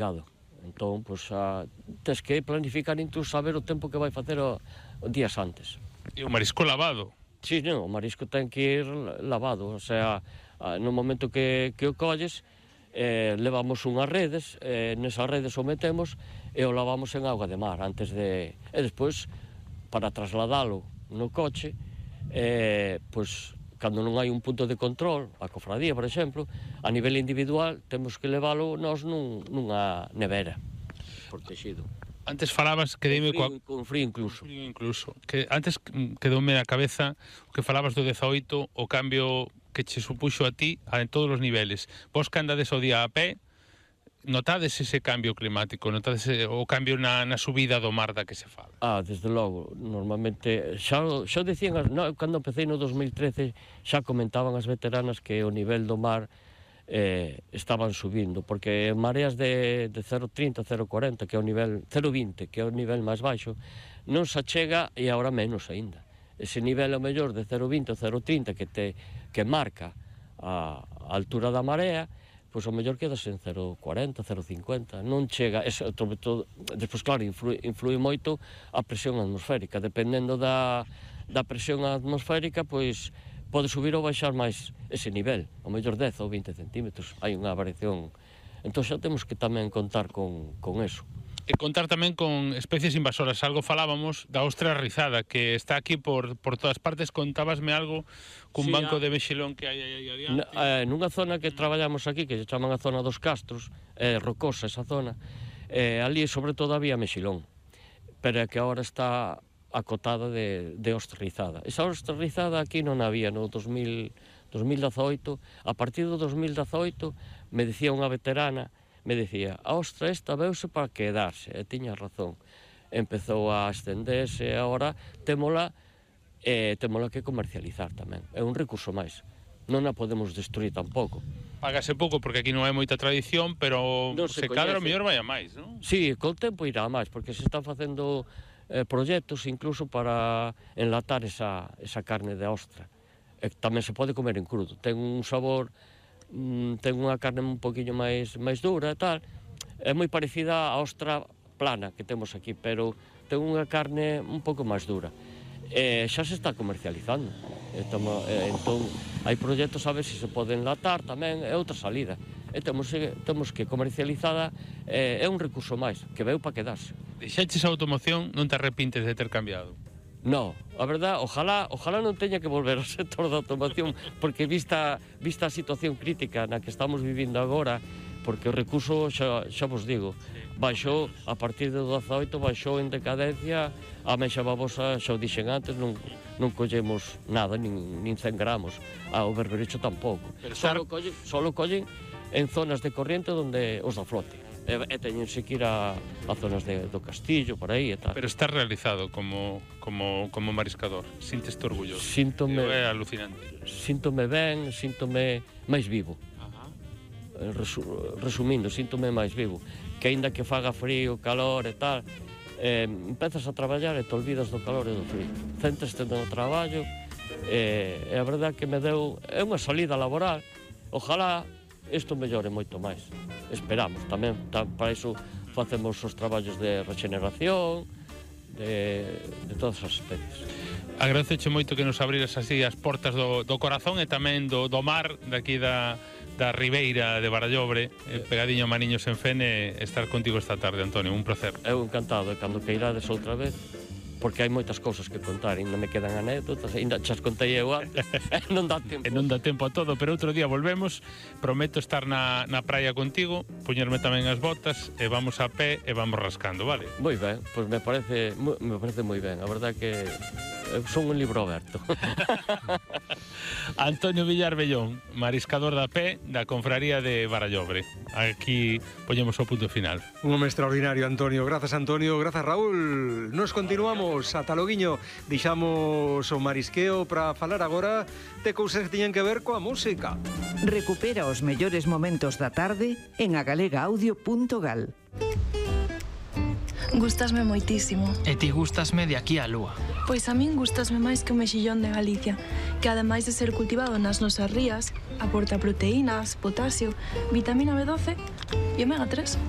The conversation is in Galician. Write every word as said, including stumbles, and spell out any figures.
obrigado. Entón, pois, a, tens que planificar incluso saber o tempo que vai facer o, o días antes. E o marisco lavado? Sí, non, o marisco ten que ir lavado, o sea, no momento que, que o colles, eh, levamos unhas redes, eh, nesas redes o metemos e o lavamos en auga de mar antes de... E despois, para trasladalo no coche, eh, pois, cando non hai un punto de control, a cofradía, por exemplo, a nivel individual, temos que leválo nós nun, nunha nevera, protegido. Antes falabas que dime con frío, coa... con frío incluso. Con frío incluso. Que antes quedoume na cabeza que falabas do dezaoito, o cambio que che supuxo a ti en todos os niveles. Vos que andades o día a pé, notades ese cambio climático, notades o cambio na, na subida do mar da que se fala? Ah, desde logo, normalmente, xa, xa dicían, no, cando empecé no dos mil trece, xa comentaban as veteranas que o nivel do mar eh, estaban subindo, porque mareas de, de cero vírgula trinta, cero vírgula cuarenta, que é o nivel, cero vírgula vinte, que é o nivel máis baixo, non se achega e agora menos aínda. Ese nivel, o mellor, de cero vírgula vinte ou cero vírgula trinta que, te, que marca a, a altura da marea, pois o mellor quedas en cero vírgula cuarenta, cero vírgula cincuenta, non chega, ese, todo, todo, despois claro, influi, influi moito a presión atmosférica, dependendo da, da presión atmosférica, pois pode subir ou baixar máis ese nivel, o mellor dez ou vinte centímetros, hai unha variación, entón xa temos que tamén contar con, con eso. E contar tamén con especies invasoras. Algo falábamos da ostra rizada, que está aquí por, por todas partes. Contábasme algo cun sí, banco a... de mexilón que hai aí adiante. Eh, nunha zona que traballamos aquí, que se chaman a zona dos Castros, é eh, rocosa esa zona, eh, ali sobre todo había mexilón, pero é que agora está acotada de, de ostra rizada. Esa ostra rizada aquí non había no dos mil dezaoito. A partir do dos mil dezaoito me dicía unha veterana, me dicía, a ostra esta veuse para quedarse, e tiña razón. Empezou a estenderse, e agora témola, e témola que comercializar tamén. É un recurso máis. Non a podemos destruir tampouco. Págase pouco porque aquí non hai moita tradición, pero non se, se cadra o mellor vai a máis, non? Sí, co tempo irá a máis, porque se están facendo eh, proxectos incluso para enlatar esa, esa carne de ostra. E tamén se pode comer en crudo. Ten un sabor... ten unha carne un poquinho máis máis dura e tal, é moi parecida á ostra plana que temos aquí, pero ten unha carne un pouco máis dura. E xa se está comercializando. E tamo, e, entón, hai proxectos a ver se se pode enlatar tamén, é outra salida. E temos, temos que comercializada, é, é un recurso máis, que veu para quedarse. Deixaches a automoción, non te arrepintes de ter cambiado? No, a verdad, ojalá, ojalá non teña que volver ao sector da automoción, porque vista, vista a situación crítica na que estamos vivindo agora, porque o recurso, xa, xa vos digo, baixou, a partir do dezaoito, baixou en decadencia, a mexa babosa, xa o dixen antes, non, non collemos nada, nin, nin cen gramos, a o berberecho tampouco. Solo collen, solo collen en zonas de corriente onde os da flote. E, e teñense que ir a, a zonas de, do Castillo, por aí e tal. Pero estás realizado como, como, como mariscador, sinteste orgulloso. Síntome, é alucinante. Síntome ben, síntome máis vivo. Ajá. Resu, resumindo, síntome máis vivo. Que aínda que faga frío, calor e tal, eh, empezas a traballar e te olvidas do calor e do frío. Centraste no traballo, e, e a verdade que me deu, é unha salida laboral. Ojalá isto mellore moito máis. Esperamos tamén, tam, para iso facemos os traballos de regeneración, de, de todas as especies. Agradezoche moito que nos abriras así as portas do, do corazón e tamén do, do mar, daqui da, da Ribeira de Barallobre, eh, pegadiño a Maniños en Fene, estar contigo esta tarde, Antonio, un placer. Eu encantado, e cando que irades outra vez, porque hai moitas cousas que contar, ainda me quedan anécdotas, ainda chas contei eu antes, non dá tempo. E non dá tempo a todo, pero outro día volvemos, prometo estar na, na praia contigo, poñerme tamén as botas, e vamos a pé e vamos rascando, vale? Moi ben, pois me parece, me parece moi ben, a verdade que son un libro aberto. Antonio Villar Bellón, mariscador da pé da Confraría de Barallobre. Aquí poñemos o punto final. Un home extraordinario, Antonio. Grazas, Antonio. Grazas, Raúl. Nos continuamos ata loguiño. Deixamos o marisqueo para falar agora de cousas que teñen que ver coa música. Recupera os mellores momentos da tarde en agalegaaudio punto gal. Gústasme moitísimo. E ti gústasme de aquí á lúa. Pois a min gústasme máis que o mexillón de Galicia, que ademais de ser cultivado nas nosas rías, aporta proteínas, potasio, vitamina B doce e omega tres.